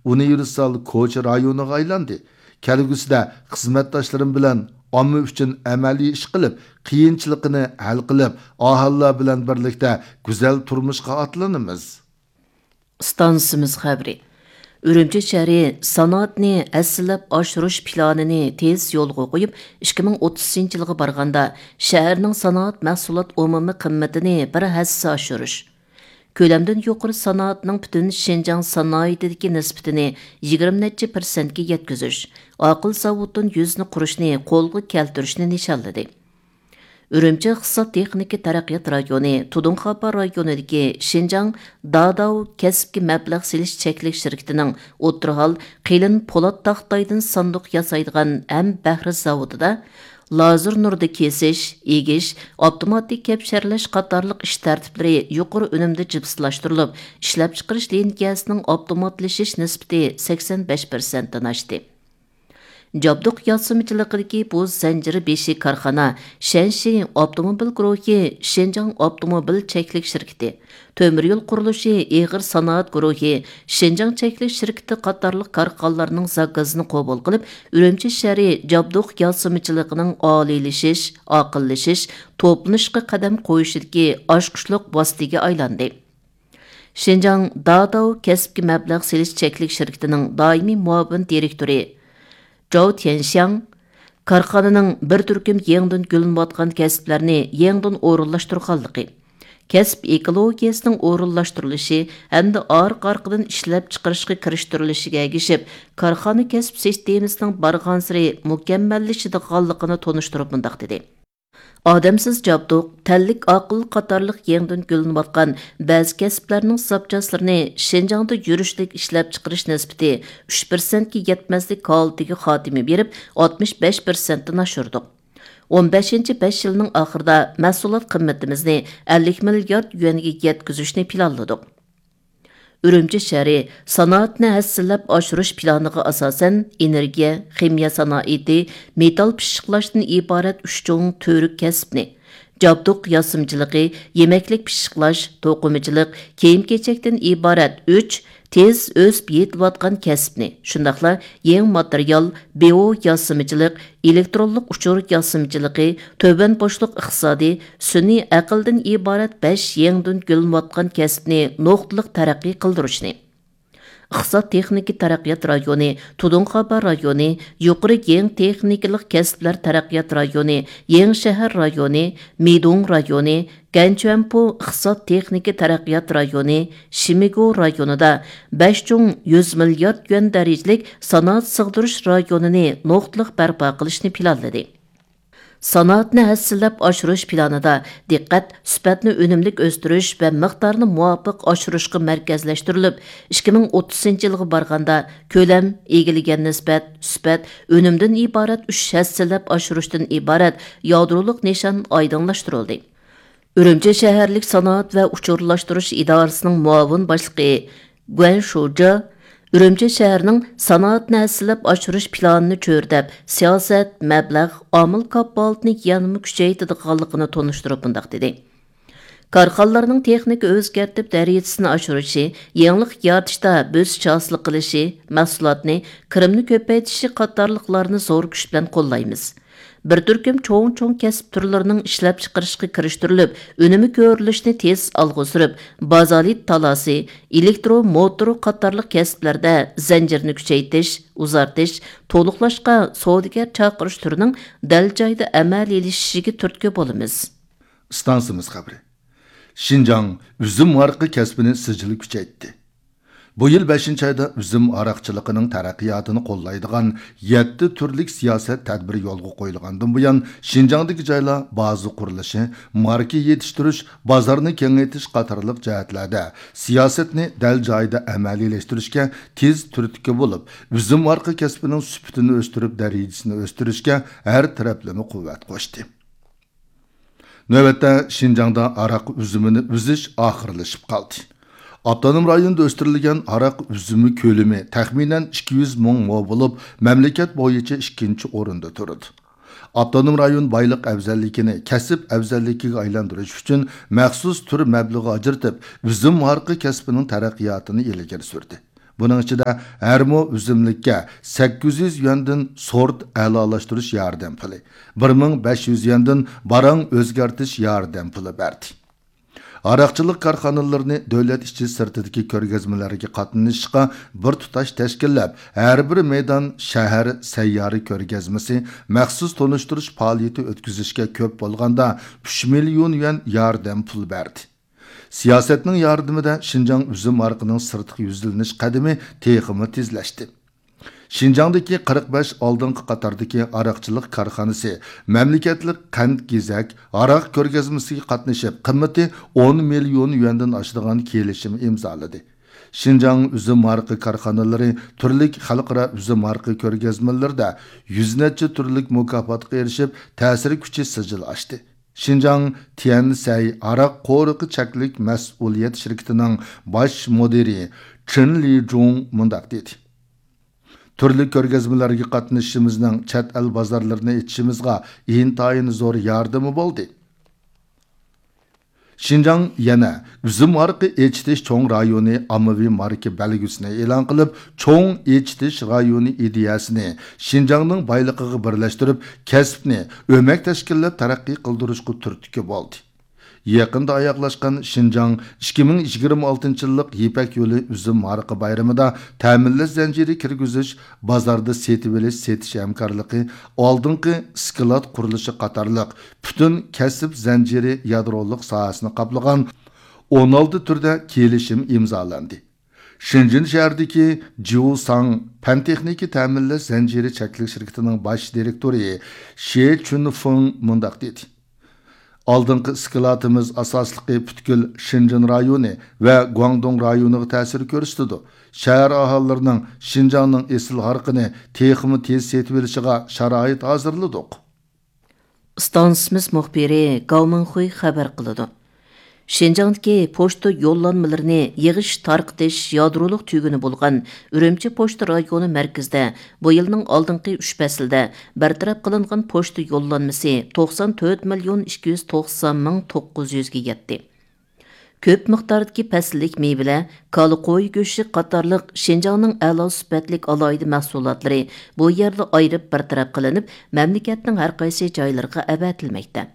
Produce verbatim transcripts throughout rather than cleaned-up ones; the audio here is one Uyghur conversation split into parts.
ئۇنىۋېرسال كوچا رايونىغا ئايلاندى. كەلگۈسىدە خىزمەتداشلىرىم بىلەن ئامما ئۈچۈن ئەمەلىي ئىش قىلىپ، قىيىنچىلىقىنى ھەل قىلىپ، ئاھالىلەر بىلەن بىرلىكتە گۈزەل تۇرمۇشقا ئاتلىنىمىز. ئىستانسىمىز خەۋىرى. ئۈرۈمچى شەھىرى سانائەتنى ھەسسىلەپ ئاشۇرۇش پىلانىنى تېز يولغا قويۇپ، ئىككى مىڭ ئوتتۇزىنچى يىلغا بارغاندا شەھەرنىڭ سانائەت مەھسۇلات ئومۇمىي قىممىتىنى بىر ھەسسە ئاشۇرۇش، كۆلەمدىن يۇقىرى سانائەتنىڭ پۈتۈن شىنجاڭ سانائىتىدىكى نىسبىتىنى يىگىرمە نەچچە پىرسەنتكە يەتكۈزۈش، ئاقىل زاۋۇتتىن يۈزنى قۇرۇشنى قولغا كەلتۈرۈشنى نىشانلىدى. ئۈرۈمچى ئىقتىساد تېخنىكا تەرەققىيات رايونى تۇدۇڭخاپا رايونىدىكى شىنجاڭ داداۋ كەسىپكە مەبلەغ سېلىش چەكلىك شىركىتىنىڭ ئوتتۇرا ھال قېلىن پولات تاختايدىن ساندۇق ياسايدىغان ھەم بەھرە زاۋۇتىدا لازېر نۇردا كېسىش، ئېگىش، ئاپتوماتىك كەپشەرلەش قاتارلىق ئىش تەرتىپلىرى يۇقىرى ئۈنۈمدە جىپسلاشتۇرۇلۇپ، ئىشلەپچىقىرىش لىنىيەسىنىڭ ئاپتوماتلىشىش نىسبىتى سەكسەن بەش پىرسەنتتىن ئاشتى. جابدۇق ياسىمىچىلىقىدىكى بۇ زەنجىر بېشى كارخانا شەنشى ئاپتوموبىل گۇرۇھى شىنجاڭ ئاپتوموبىل چەكلىك شىركىتى، تۆمۈر يول قۇرۇلۇشى ئېغىر سانائەت گۇرۇھى شىنجاڭ چەكلىك شىركىتى قاتارلىق كارخانىلارنىڭ زاكازىنى قوبۇل قىلىپ، ئۈرۈمچى شەھىرى جابدۇق ياسىمىچىلىقىنىڭ ئالىيلىشىش، ئاقىللىشىش، توپلىنىشقا قەدەم قويۇشىدىكى ئاچقۇچلۇق ۋاسىتىگە ئايلاندى. شىنجاڭ داداۋ كەسىپكە مەبلەغ سېلىش چەكلىك شىركىتىنىڭ دائىمىي مۇئاۋىن دىرېكتورى جاۋ تيەنشياڭ كارخانىنىڭ بىر تۈركۈم يېڭىدىن گۈللىنىۋاتقان كەسىپلەرنى يېڭىدىن ئورۇنلاشتۇرغانلىقى، كەسىپ ئېكولوگىيەسىنىڭ ئورۇنلاشتۇرۇلۇشى ھەمدە ئارقا-ئارقىدىن ئىشلەپچىقىرىشقا كىرىشتۈرۈلۈشىگە ئەگىشىپ، كارخانا كەسىپ سىستېمىسىنىڭ بارغانسېرى مۇكەممەللىشىدىغانلىقىنى تونۇشتۇرۇپ مۇنداق دېدى. ئادەمسىز جابدۇق، تەنلىك ئاقىل قاتارلىق يېڭىدىن گۈللىنىۋاتقان بەزى كەسىپلەرنىڭ زاپچاسلىرىنى شىنجاڭدا يۈرۈشلۈك ئىشلەپچىقىرىش نىسبىتى ئۈچ پىرسەنتكە يەتمەسلىك ھالىتىگە خاتىمە بېرىپ، ئاتمىش بەش پىرسەنتتىن ئاشۇردۇق. ئون بەشىنچى بەش يىلنىڭ ئاخىرىدا مەھسۇلات قىممىتىمىزنى ئەللىك مىليارد يۈەنگە يەتكۈزۈشنى پىلانلىدۇق. ئۈرۈمچى شەھىرى سانائەتنى ھەسسىلەپ ئاشۇرۇش پىلانىغا ئاساسەن، ئېنېرگىيە، خىمىيە سانائىتى، مېتال پىششىقلاشتىن ئىبارەت ئۈچ چوڭ تۈۋرۈك كەسىپنى، جابدۇق ياسىمىچىلىقى، يېمەكلىك پىششىقلاش، توقۇمىچىلىق، كىيىم-كېچەكتىن ئىبارەت ئۈچ تېز ئۆسۈپ يېتىلىۋاتقان كەسىپنى، شۇنداقلا يېڭى ماتېرىيال، بىئو ياسىمىچىلىق، ئېلېكترونلۇق ئۇچۇر ياسىمىچىلىقى، تۆۋەن بوشلۇق ئىقتىسادى، سۈنئىي ئەقىلدىن ئىبارەت بەش يېڭىدىن گۈللىنىۋاتقان كەسىپنى نۇقتىلىق تەرەققىي قىلدۇرۇشنى، ئىقتىساد تېخنىكا تەرەققىيات رايونى، تۇدۇڭخاپا رايونى، يۇقىرى يېڭى تېخنىكىلىق كەسىپلەر تەرەققىيات رايونى، يېڭى شەھەر رايونى، مىدۇڭ رايونى، گەنچۈەنپۇ ئىقتىساد تېخنىكا تەرەققىيات رايونى، شىمىگۇ رايونىدا بەش چوڭ يۈز مىليارد يۈەن دەرىجىلىك سانائەت سىغدۇرۇش رايونىنى نۇقتىلىق بەرپا قىلىشنى پىلانلىدى. سانائەتنى ھەسسىلەپ ئاشۇرۇش پىلانىدا دىققەت سۈپەتنى ئۈنۈملۈك ئۆستۈرۈش ۋە مىقدارنى مۇۋاپىق ئاشۇرۇشقا مەركەزلەشتۈرۈلۈپ، ئىككى مىڭ ئوتتۇزىنچى يىلغا بارغاندا كۆلەم، ئىگىلىگەن نىسبەت، سۈپەت، ئۈنۈمدىن ئىبارەت ئۈچ ھەسسىلەپ ئاشۇرۇشتىن ئىبارەت يادرولۇق نىشان ئايدىڭلاشتۇرۇلدى. ئۈرۈمچى شەھەرلىك سانائەت ۋە ئۇچۇرلاشتۇرۇش ئىدارىسىنىڭ مۇئاۋىن باشلىقى گۇەن شۇجا ئۈرۈمچى شەھىرىنىڭ سانائەتنى ھەسسىلەپ ئاشۇرۇش پىلانىنى چۆرىدەپ، سىياسەت، مەبلەغ، ئامىل كاپالىتىنى يەنىمۇ كۈچەيتىدىغانلىقىنى تونۇشتۇرۇپ مۇنداق دېدى: كارخانىلارنىڭ تېخنىكا ئۆزگەرتىپ دەرىجىسىنى ئاشۇرۇشى، يېڭىلىق يارىتىشتا بۆسۈش ھاسىل قىلىشى، مەھسۇلاتنى، كىرىمنى كۆپەيتىشى قاتارلىقلارنى زور كۈچ بىلەن قوللايمىز. بىر تۈركۈم چوڭ-چوڭ كەسىپ تۈرلىرىنىڭ ئىشلەپچىقىرىشقا كىرىشتۈرۈلۈپ، ئۈنۈمى كۆرۈلۈشىنى تېز ئالغا سۈرۈپ، بازالت تالاسى، ئېلېكترو موتورى قاتارلىق كەسىپلەردە زەنجىرنى كۈچەيتىش، ئۇزارتىش، تولۇقلاشقا سودىگەر چاقىرىش تۈرىنىڭ دەل جايىدا ئەمەلىيلىشىشىگە تۈرتكە بولىمىز. ئىستانسىمىز خەۋىرى. شىنجاڭ ئۈزۈم ھارىقى كەسپىنى سىجىل كۈچەيتتى. بۇ يىل بەشىنچى ئايدا ئۈزۈم ھاراقچىلىقىنىڭ تەرەققىياتىنى قوللايدىغان يەتتە تۈرلۈك سىياسەت تەدبىرى يولغا قويۇلغاندىن بۇيان، شىنجاڭدىكى جايلار بازا قۇرۇلۇشى، ماركا يېتىشتۈرۈش، بازارنى كېڭەيتىش قاتارلىق جەھەتلەردە سىياسەتنى دەل جايىدا ئەمەلىيلەشتۈرۈشكە تېز تۈرتكە بولۇپ، ئۈزۈم ھارىقى كەسپىنىڭ سۈپىتىنى ئۆستۈرۈپ، دەرىجىسىنى ئۆستۈرۈشكە ھەر تەرەپلىمە قۇۋۋەت قوشتى. نۆۋەتتە، شىنجاڭدا ھاراق ئۈزۈمىنى ئۈزۈش ئاخىرلىشىپ قالدى. ئاپتونوم رايوندا ئۆستۈرۈلگەن ھاراق ئۈزۈمى كۆلىمى تەخمىنەن ئىككى يۈز مىڭ مو بولۇپ، مەملىكەت بويىچە ئىككىنچى ئورۇندا تۇرىدۇ. ئاپتونوم رايون بايلىق ئەۋزەللىكىنى كەسىپ ئەۋزەللىكىگە ئايلاندۇرۇش ئۈچۈن مەخسۇس تۈر مەبلىغى ئاجرىتىپ، ئۈزۈم ھارىقى كەسپىنىڭ تەرەققىياتىنى ئىلگىرى سۈردى. بۇنىڭ ئىچىدە ھەر مو ئۈزۈملۈككە سەككىز يۈز يۈەندىن سورت ئەلالاشتۇرۇش ياردەم پۇلى، بىر مىڭ بەش يۈز يۈەندىن باراڭ ئۆزگەرتىش ياردەم پۇلى بەردى. ھاراقچىلىق كارخانىلىرىنى دۆلەت ئىچى سىرتىدىكى كۆرگەزمىلەرگە قاتنىشىشقا بىر تۇتاش تەشكىللەپ، ھەر بىر مەيدان شەھەر سەييارە كۆرگەزمىسى، مەخسۇس تونۇشتۇرۇش پائالىيىتى ئۆتكۈزۈشكە كۆپ بولغاندا ئۈچ مىليون يۈەن ياردەم پۇل بەردى. سىياسەتنىڭ ياردىمىدە شىنجاڭ ئۈزۈم ھارىقىنىڭ سىرتقا يۈزلىنىش قەدىمى تېخىمۇ تېزلەشتى. شىنجاڭدىكى قىرىق بەش ئالدىنقى قاتاردىكى ھاراقچىلىق كارخانىسى مەملىكەتلىك قەنت گېزەك ھاراق كۆرگەزمىسىگە قاتنىشىپ، قىممىتى ئون مىليون يۈەندىن ئاشىدىغان كېلىشىم ئىمزالىدى. شىنجاڭ ئۈزۈم ھارىقى كارخانىلىرى تۈرلۈك خەلقئارا ئۈزۈم ھارىقى كۆرگەزمىلىرىدە يۈز نەچچە تۈرلۈك مۇكاپاتقا ئېرىشىپ، تەسىر كۈچى سىجىل ئاشتى. شىنجاڭ تيەنسەي ھاراق قورۇقى چەكلىك مەسئۇلىيەت شىركىتىنىڭ باش مۇدىرى چېن لىجۇڭ مۇنداق دېدى: تۈرلۈك كۆرگەزمىلەرگە قاتنىشىشىمىزنىڭ چەت ئەل بازارلىرىنى ئېچىشىمىزغا ئىنتايىن زور ياردىمى بولدى. شىنجاڭ يەنە ئۈزۈم ھارىقى ئېچىتىش چوڭ رايونى ئاممىۋى ماركا بەلگىسىنى ئېلان قىلىپ، چوڭ ئېچىتىش رايونى ئىدىيەسىنى شىنجاڭنىڭ بايلىقىغا بىرلەشتۈرۈپ، كەسىپنى ئۆمەك تەشكىللەپ تەرەققىي قىلدۇرۇشقا تۈرتكە بولدى. يېقىندا ئاياغلاشقان شىنجاڭ ئىككى مىڭ يىگىرمە ئالتىنچى يىللىق يىپەك يولى ئۈزۈم ھارىقى بايرىمىدا تەمىنلەش زەنجىرى كىرگۈزۈش، بازاردا سېتىۋېلىش، سېتىش ھەمكارلىقى، ئالدىنقى ئىسكىلات قۇرۇلۇشى قاتارلىق پۈتۈن كەسىپ زەنجىرى يادرولۇق ساھەسىنى قاپلىغان ئون ئالتە تۈردە كېلىشىم ئىمزالاندى. شېنجېن شەھىرىدىكى جيۇساڭ پەن تېخنىكا تەمىنلەش زەنجىرى چەكلىك شىركىتىنىڭ باش دىرېكتورى شې چۈنفېڭ مۇنداق دېدى: ئالدىنقى ئىسكىلاتىمىز ئاساسلىقى پۈتكۈل شېنجېن رايونى ۋە گۇاڭدۇڭ رايونىغا تەسىر كۆرسىتىدۇ. شەھەر ئاھالىلىرىنىڭ شىنجاڭنىڭ ئېسىل ھارىقىنى تېخىمۇ تېز سېتىۋېلىشىغا شارائىت ھازىرلىدۇق. ئىستانسىمىز مۇخبىرى گاۋ مىڭخۇي خەۋەر قىلىدۇ. شىنجاڭدىكى پوچتا يوللانمىلىرىنى يىغىش تارقىتىش يادرولۇق تۈگۈنى بولغان ئۈرۈمچى پوچتا رايونى مەركىزىدە بۇ يىلنىڭ ئالدىنقى ئۈچ پەسلىدە بىر تەرەپ قىلىنغان پوچتا يوللانمىسى توقسان تۆت مىليون ئىككى يۈز توقسان مىڭ توققۇز يۈزگە يەتتى. كۆپ مىقداردىكى پەسىللىك مېۋىلەر، كالا، قوي گۆشى قاتارلىق شىنجاڭنىڭ ئەلا سۈپەتلىك ئالاھىدە مەھسۇلاتلىرى بۇ يەردە ئايرىپ بىر تەرەپ قىلىنىپ، مەملىكەتنىڭ ھەر قايسى جايلىرىغا ئەۋەتىلمەكتە.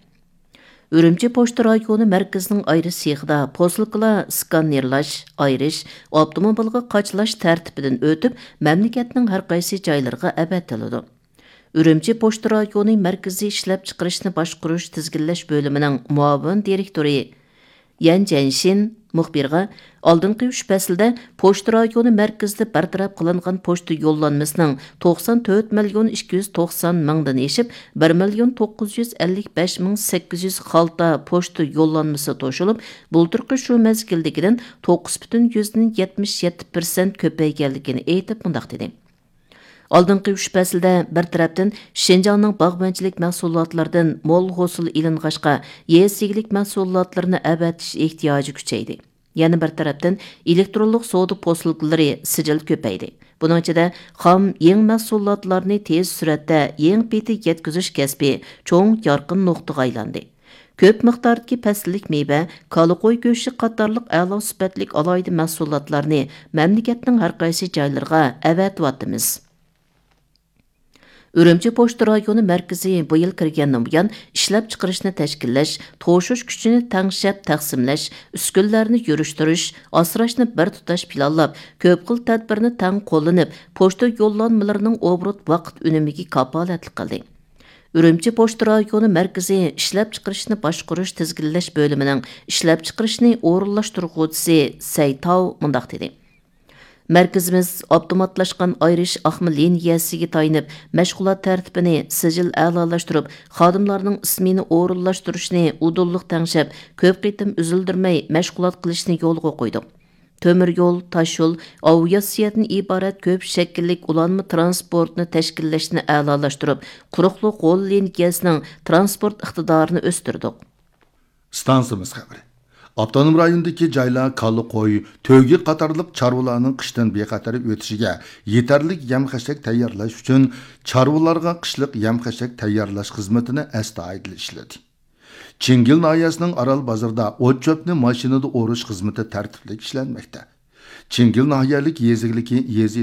ئۈرۈمچى پوچتا رايونى مەركىزىنىڭ ئايرىش سېخىدا پوسۇلكىلار سكانېرلاش، ئايرىش، ئاپتوموبىلغا قاچىلاش تەرتىپىدىن ئۆتۈپ، مەملىكەتنىڭ ھەر قايسى جايلىرىغا ئەۋەتىلىدۇ. ئۈرۈمچى پوچتا رايونى مەركىزىي ئىشلەپچىقىرىشنى باشقۇرۇش تىزگىنلەش بۆلۈمىنىڭ مۇئاۋىن دىرېكتورى يەن جەنشىن مۇخبىرغا، ئالدىنقى ئۈچ پەسىلدە پوچتا رايونى مەركىزىدە بىر تەرەپ قىلىنغان پوچتا يوللانمىسىنىڭ توقسان تۆت مىليون ئىككى يۈز توقسان مىڭدىن ئېشىپ، بىر مىليون توققۇز يۈز ئەللىك بەش مىڭ سەككىز يۈز خالتا پوچتا يوللانمىسى توشۇلۇپ، بۇلتۇرقى شۇ مەزگىلدىكىدىن توققۇز پۈتۈن يۈزدىن يەتمىش يەتتە پىرسەنت كۆپەيگەنلىكىنى ئېيتىپ، مۇنداق دېدى. ئالدىنقى ئۈچ پەسىلدە بىر تەرەپتىن شىنجاڭنىڭ باغۋەنچىلىك مەھسۇلاتلىرىدىن مول ھوسۇل ئېلىنغاچقا، يېزا ئىگىلىك مەھسۇلاتلىرىنى ئەۋەتىش ئېھتىياجى كۈچەيدى. يەنە بىر تەرەپتىن ئېلېكترونلۇق سودا پوسۇلكىلىرى سىجىل كۆپەيدى. بۇنىڭ ئىچىدە خام يېڭى مەھسۇلاتلارنى تېز سۈرئەتتە يېڭى پېتى يەتكۈزۈش كەسپى چوڭ يارقىن نۇقتىغا ئايلاندى. كۆپ مىقداردىكى پەسىللىك مېۋە، كالا، قوي گۆشى قاتارلىق ئەلا سۈپەتلىك ئالاھىدە مەھسۇلاتلارنى مەملىكەتنىڭ ھەر قايسى جايلىرىغا ئەۋەتىۋاتىمىز. ئۈرۈمچى پوچتا رايونى مەركىزى بۇ يىل كىرگەندىن بۇيان، ئىشلەپچىقىرىشنى تەشكىللەش، توشۇش كۈچىنى تەڭشەپ تەقسىملەش، ئۈسكۈنىلەرنى يۈرۈشتۈرۈش، ئاسراشنى بىر تۇتاش پىلانلاپ، كۆپ خىل تەدبىرنى تەڭ قوللىنىپ، پوچتا يوللانمىلىرىنىڭ ئوبوروت ۋاقىت ئۈنۈمىگە كاپالەتلىك قىلدى. ئۈرۈمچى پوچتا رايونى مەركىزى ئىشلەپچىقىرىشنى باشقۇرۇش تىزگىنلەش بۆلۈمىنىڭ ئىشلەپچىقىرىشنى ئورۇنلاشتۇرغۇچىسى سەي تاۋ مۇنداق دېدى: مەركىزىمىز ئاپتوماتلاشقان ئايرىش ئاقما لىنىيەسىگە تايىنىپ، مەشغۇلات تەرتىپىنى سىجىل ئەلالاشتۇرۇپ، خادىملارنىڭ ئىسمېنا ئورۇنلاشتۇرۇشىنى ئۇدۇللۇق تەڭشەپ، كۆپ قېتىم ئۈزۈلدۈرمەي مەشغۇلات قىلىشنى يولغا قويدۇق. تۆمۈر يول، تاش يول، ئاۋىئاتسىيەدىن ئىبارەت كۆپ شەكىللىك ئۇلانما تىرانسپورتنى تەشكىللەشنى ئەلالاشتۇرۇپ، قۇرۇقلۇق غول لىنىيەسىنىڭ تىرانسپورت ئىقتىدارىنى ئۆستۈردۇق. ئىستانسىمىز خەۋىرى. ئاپتونوم رايوندىكى جايلار كالا، قوي، تۆگە قاتارلىق چارۋىلارنىڭ قىشتىن بىخەتەر ئۆتۈشىگە يېتەرلىك يەم-خەشەك تەييارلاش ئۈچۈن چارۋىلارغا قىشلىق يەم-خەشەك تەييارلاش خىزمىتىنى ئەستايىدىل ئىشلىدى. چىڭگىل ناھىيەسىنىڭ ئارال بازىرىدا ئوت-چۆپنى ماشىنىدا ئورۇش خىزمىتى تەرتىپلىك ئىشلەنمەكتە. چىڭگىل ناھىيەلىك يېزا ئىگىلىكى، يېزا